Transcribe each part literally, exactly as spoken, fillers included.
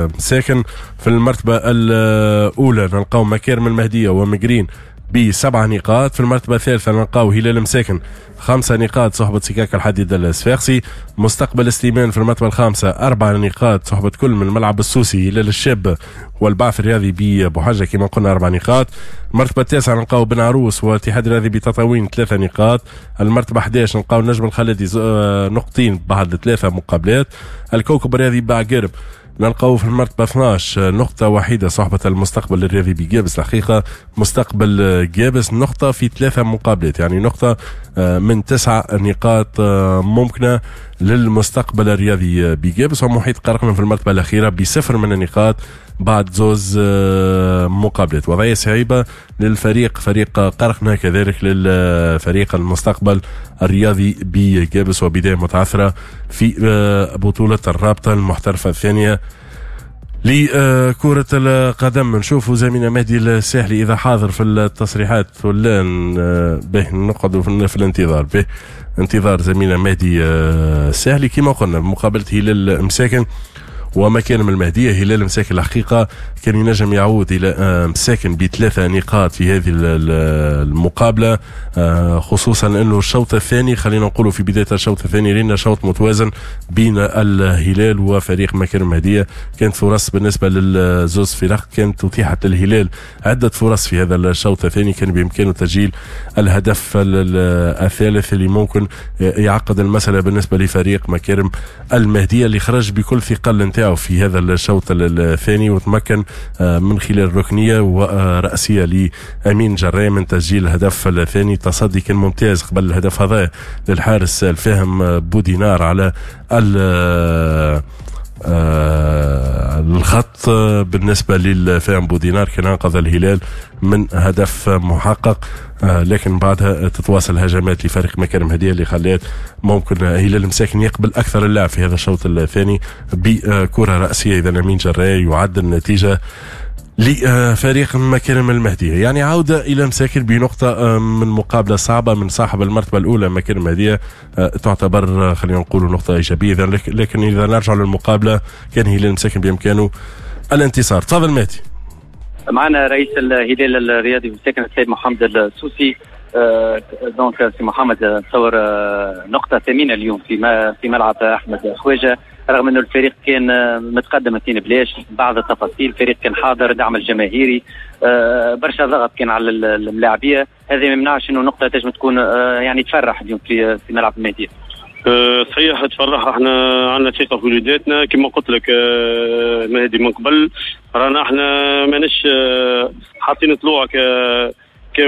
مساكن. في المرتبة الأولى نلقاو مكارم المهدية ومقرين بسبع نقاط. في المرتبة الثالثة نلقاو هلال مساكن خمسة نقاط صحبة سكاك الحديد الصفاقسي. مستقبل سليمان في المرتبة الخامسة أربع نقاط صحبة كل من الملعب السوسي، هلال الشاب والبعث الرياضي ببوحجة كما قلنا أربع نقاط. المرتبة التاسعة نلقاو بن عروس والاتحاد الرياضي بتطاوين ثلاثة نقاط. المرتبة أحد عشر نلقاو النجم الخلدي نقطتين بعد ثلاثة مقابلات. الكوكب الرياضي بعقرب نلقاو في المرتبة اثناش نقطة وحيدة صحبة المستقبل الرياضي بجابس. الحقيقة مستقبل جابس نقطة في ثلاثة مقابلات، يعني نقطة من تسعة نقاط ممكنة للمستقبل الرياضي بجابس. ومحيط قرقنا في المرتبة الأخيرة بصفر من النقاط بعد زوز مقابلات. وضعية صعيبة للفريق فريق قرقنا، كذلك للفريق المستقبل الرياضي بجابس، وبداية متعثرة في بطولة الرابطة المحترفة الثانية لكرة القدم. نشوفوا زميلنا مهدي الساحلي إذا حاضر في التصريحات ولا به نقعدوا في الانتظار، به انتظار زميلنا مهدي الساحلي. كما قلنا مقابلة هلال مساكن ومكارم المهدية، هلال مساكن الحقيقة كان ينجم يعود إلى مساكن بثلاثة نقاط في هذه المقابلة، خصوصا أنه الشوط الثاني خلينا نقولوا في بداية الشوط الثاني رينا شوط متوازن بين الهلال وفريق مكارم المهدية. كانت فرص بالنسبة للزوز فرق، كانت أتيحت للهلال عدة فرص في هذا الشوط الثاني، كان بإمكانه تسجيل الهدف الثالث اللي ممكن يعقد المسألة بالنسبة لفريق مكارم المهدية اللي خرج بكل ثقل نتاعو في هذا الشوط الثاني، وتمكن من خلال ركنية ورأسية لأمين جراي من تسجيل الهدف الثاني. تصدي كان ممتاز قبل الهدف هذا للحارس الفاهم بودينار على الخط. بالنسبة للفاهم بودينار كان أنقذ الهلال من هدف محقق، لكن بعدها تتواصل هجمات لفريق مكارم هدية اللي خلات ممكن هلال مساكن يقبل أكثر اللاعب في هذا الشوط الثاني بكرة رأسية. إذا أمين جراي يعدل النتيجة لفريق مكارم المهدية، يعني عودة إلى مساكن بنقطة من مقابلة صعبة من صاحب المرتبة الأولى مكارم المهدية، تعتبر خلينا نقول نقطة إيجابية. لكن إذا نرجع للمقابلة كان هلال مساكن بإمكانه الانتصار. تفضل مهدي. معنا رئيس الهلال الرياضي مساكن السيد محمد السوسي. donc سي محمد، نتصور نقطة ثمينة اليوم في في ملعب أحمد خواجة، رغم أنه الفريق كان متقدم اثنين بلاش، بعض التفاصيل الفريق كان حاضر، دعم الجماهيري، برشا ضغط كان على الملاعبية، هذا ما يمنعش أنه نقطة تنجم تكون يعني تفرح اليوم في في ملعب المهدية. صحيح تفرح، احنا عندنا ثقة في وليداتنا كما قلت لك مهدي من قبل، رانا احنا ماناش حاطين طلوع ك ك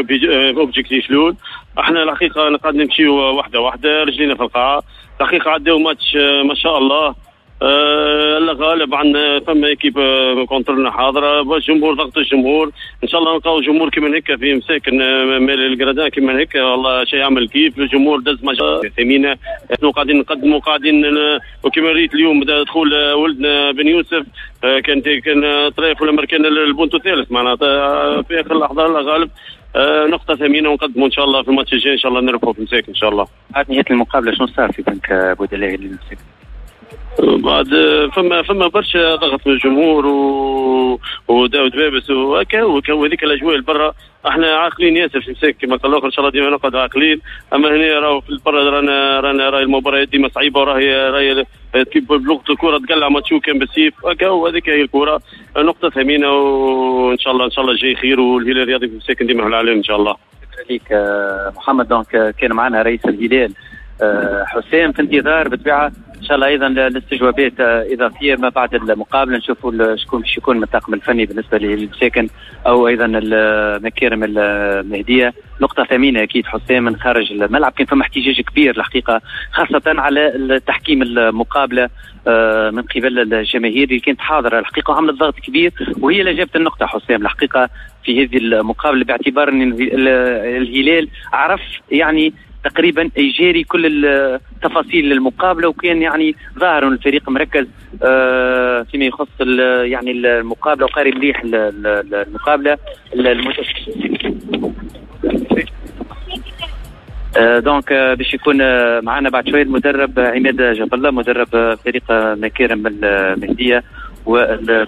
objectif الاول. احنا الحقيقة قاعد نمشيو واحدة واحدة، رجلينا في القاعة. الحقيقة عداو ماتش ما شاء الله، آه الله غالب عندنا فما équipe contre نا حاضره، الجمهور ضغط الجمهور، ان شاء الله نلقاو جمهور كيما هكا في مساكن مال ال gradins كيما هكا، والله شيء يعمل كيف. الجمهور دز ماتش ثمينة، نحن قاعدين نقدموا قاعدين، وكما ريت اليوم دخول ولدنا بن يوسف كان كان طريف ولا كان البونتو الثالث معناتها في اخر اللحظة، الله غالب نقطة ثمينة ونقدموا ان شاء الله في الماتش الجاي ان شاء الله نربحوا في مساكن ان شاء الله. بعد نهاية المقابلة شنو صار في بنك بودلاء للمساكن؟ بعد فما فما برشا ضغط من الجمهور و... وداود بابس وهكا وهذيك الاجواء البرا. احنا عاقلين ياسر في مساكن كما قال الاخر، ان شاء الله ديما نقعد عاقلين، اما هنا راهو في البرا رانا رانا راهي المباريات ديما صعيبة، وراهي راهي بلغه الكره تقلع ماتشو كان بالسيف هكا، وهذيك هي الكره. نقطة ثمينة وان شاء الله ان شاء الله جاي خير، والهلال الرياضي في مساكن ديما في العالم ان شاء الله. شكرا لك محمد. donc كان معنا رئيس الهلال حسام، في انتظار بالطبيعة ان شاء الله ايضا الاستجوابات اضافية ما بعد المقابلة، نشوفوا شكون باش يكون من الطاقم الفني بالنسبة للمساكن او ايضا المكارم المهدية. نقطة ثمينة اكيد حسام من خارج الملعب، كان فما احتجاج كبير الحقيقة خاصة على تحكيم المقابلة من قبل الجماهير اللي كانت حاضره الحقيقة وعملت ضغط كبير، وهي اللي جابت النقطة حسام الحقيقة في هذه المقابلة، باعتبار ان الهلال عرف يعني تقريبا يجاري كل التفاصيل للمقابله، وكان يعني ظاهر ان الفريق مركز فيما يخص يعني المقابلة وقاري مليح المقابلة. donc باش يكون معنا بعد شوية المدرب عماد جاب الله، مدرب فريق مكارم المهدية، وال